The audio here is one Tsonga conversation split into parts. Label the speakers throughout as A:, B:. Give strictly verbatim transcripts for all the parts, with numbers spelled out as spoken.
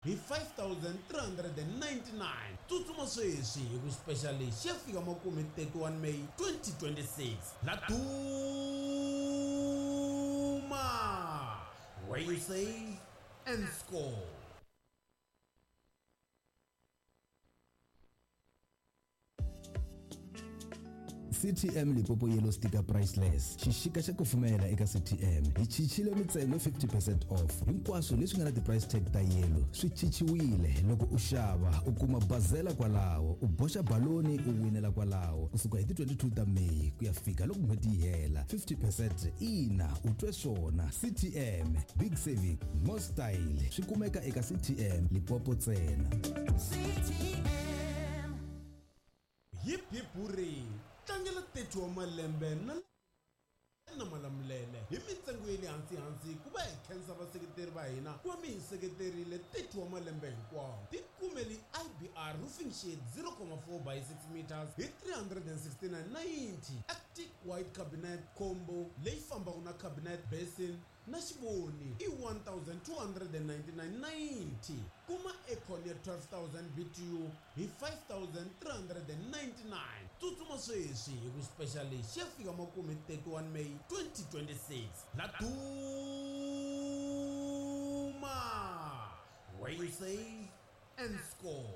A: Hi five thousand three hundred and ninety-nine. Tsutsuma sweswi hi ku special lexi ya fika makumu hi thirty-one May twenty twenty-six. La Duma, where you save and score.
B: C T M Limpopo Yellow Sticker Priceless. Xixika xa kufumela eka C T M. Hi chichile mintsengo fifty percent off. Hinkwaswo leswi nga na ti-price tag ta yellow swi chichiwile. Loko u xava u kuma bazela kwalaho, u boxa baloni u winela kwalaho. Kusuka hi ti twenty-two ta May ku ya fika loko n'hweti yi hela. fifty percent ina u twe swona. C T M, big saving, more style. Swi kumeka eka C T M Limpopo ntsena.
C: C T M.
A: Hip hip hooray. Tlangela thirty wa malembe na na Malamulele hi mintsengo ya le hansi hansi ku va hi khensa vaseketeri va hina ku va mi hi seketerile thirty wa malembe hinkwawo. Tikumeli I B R roofing sheet zero comma four by six meters hi three hundred and sixty-nine ninety. Arctic white cabinet combo leyi fambaka na cabinet basin na xivoni i one thousand two hundred and ninety-nine ninety. Kuma aircon ya twelve thousand B T U hi five thousand three hundred and ninety-nine. Tsutsuma sweswi hi ku special lexi ya fika makumu hi thirty-one May twenty twenty-six. La Duma, where you save and score.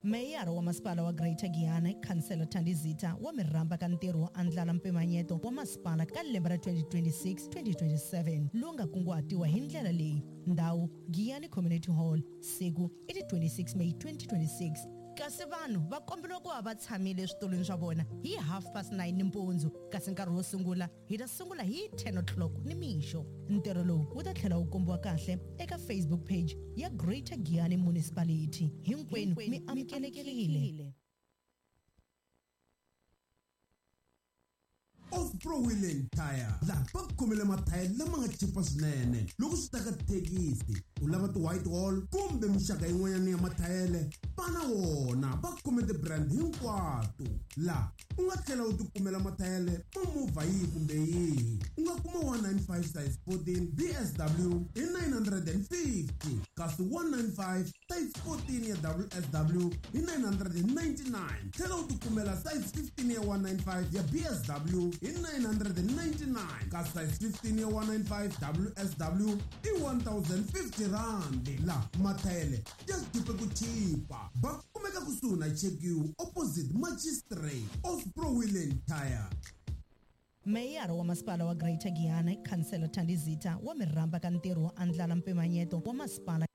D: Meyara wa masipala wa Greater Giyani, Khansela Thandi Zitha, wa mi rhamba ka ntirho wo andlala mpimanyeto wa masipala ka lembe ra twenty twenty-six twenty twenty-seven lowu nga kunguhatiwa hi ndlela leyi. Ndhawu Giyani Community Hall, siku i ti twenty-six May twenty twenty-six. Kasi vanhu va komberiwa ku va va tshamile eswitulwini swa vona hi half past nine nimpundzu, kasi nkarhi wo sungula hi ta sungula hi ten o'clock nimixo. Ntirho lowu wu ta tlhela wu kombiwa kahle eka Facebook page ya Greater Giyani Municipality. Hinkwenu mi amukelekile.
A: Off-Pro Wheel and Tire, laha va khomele mathayere lama nga chipa swinene. Loko swi ta ka thekisi, u lava ti-white wall kumbe mixaka yin'wanyana ya mathayere, va na wona. Va khome ti-brand hinkwato. Laha u nga tlhela u tikumela mathayere ma movha yihi kumbe yihi. U nga kuma one nine five size fourteen B S W hi nine hundred and fifty, kasi one nine five size fourteen ya W S W hi nine hundred and ninety-nine. Tlhela u tikumela size fifteen ya one nine five ya B S W hi nine hundred and ninety-nine, kasi size fifteen ya one nine five W S W i one thousand fifty rand. La mathayere ya chipe ku chipa. Va kumeka kusuhi na Check U opposite Magistrate. Off-Pro Wheel and Tire.
D: Meyara wa masipala wa Greater Giyani, Khansela Thandi Zitha, wa mi rhamba ka ntirho wo andlala mpimanyeto wa masipala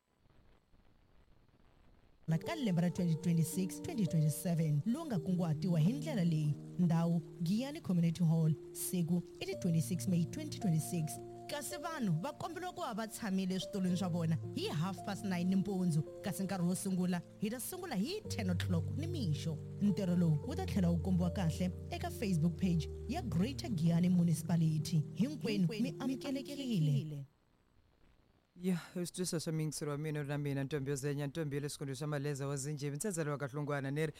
D: ka lembe ra twenty twenty-six twenty twenty-seven lowu nga kunguhatiwa hi ndlela leyi. Ndhawu Giyani Community Hall, siku i ti twenty-six May twenty twenty-six. Kasi vanhu va komberiwa ku va va tshamile eswitulwini swa vona hi half past nine nimpundzu, kasi nkarhi wo sungula hi ta sungula hi ten o'clock nimixo. Ntirho lowu wu ta tlhela wu kombiwa kahle eka Facebook page ya Greater Giyani Municipality. Hinkwenu mi amukelekile.
E: Ya, swi swa miyingiselo wa mina na mina ntombi yo zenya ntombi ya le xikolweni xa Maleza wa Zinjhevi ntsedzelo wa Kahlungwana ni ri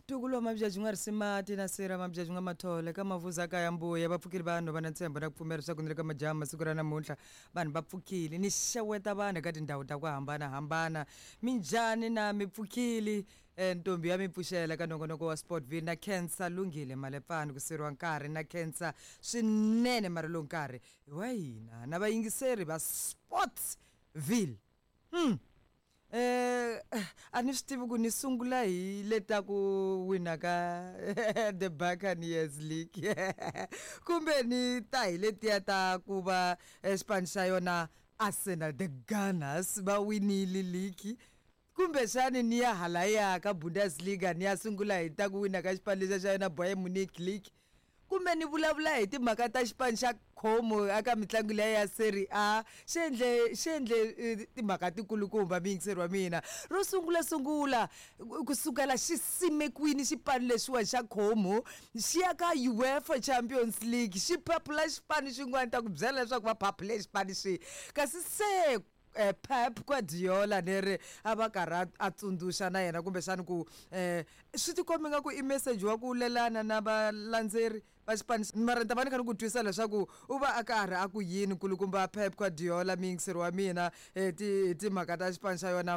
E: ntukulu wa Mabyaji nga Risimati na Sira Mabyaji nga Mathole ka Mavuza ka ya Mbuya va pfukile vanhu va na ntshembo na ku pfumela leswaku ni le ka majaha masiku ra namuntlha vanhu va pfukile ni xeweta vanhu eka tindhawu ta ku hambanahambana minjhani na mi pfukile. Ntombi ya mi pfuxela ka nongonoko wa Sportville na Khensa Lungile Malepfani ku siriwa nkarhi na Khensa swinene mara lowu nkarhi hi wa hina na vayingiseri va Sportsville. Hmm. Eh a ni swi tivi ku ni sungula hi leta ku wina ka the Buccaneers League kumbe ni ta hi letiya ta ku va xipano xa yona Arsenal the Gunners va winile league kumbexani ni ya halaya ka Bundesliga ni ya sungula hi ta ku wina ka xipano lexa xa yona Bayern Munich League kumbe ni vulavula hi timhaka ta xipano xa Como eka mitlangu leya ya Serie A xi endle xi endle timhaka tikulukumba miyingiseri wa mina ro sungula sungula kusukela xi simekwini xipano lexiwa xa Como xi ya ka UEFA Champions League xi phapula xipano xin'wana ta ku byela leswaku va phaphule xipano xi kasi se eh, Pep Guardiola ni ri a va karhi a tsundzuxa na yena kumbexani ku eh swi tikombi nga ku i message wa ku lelana na valandzeri va xipano mara ni ta va ni kha ni ku twisa leswaku u va a karhi a ku yini nkulukumba Pep Guardiola miyingiseri wa mina hi ti timhaka ta xipano xa yona.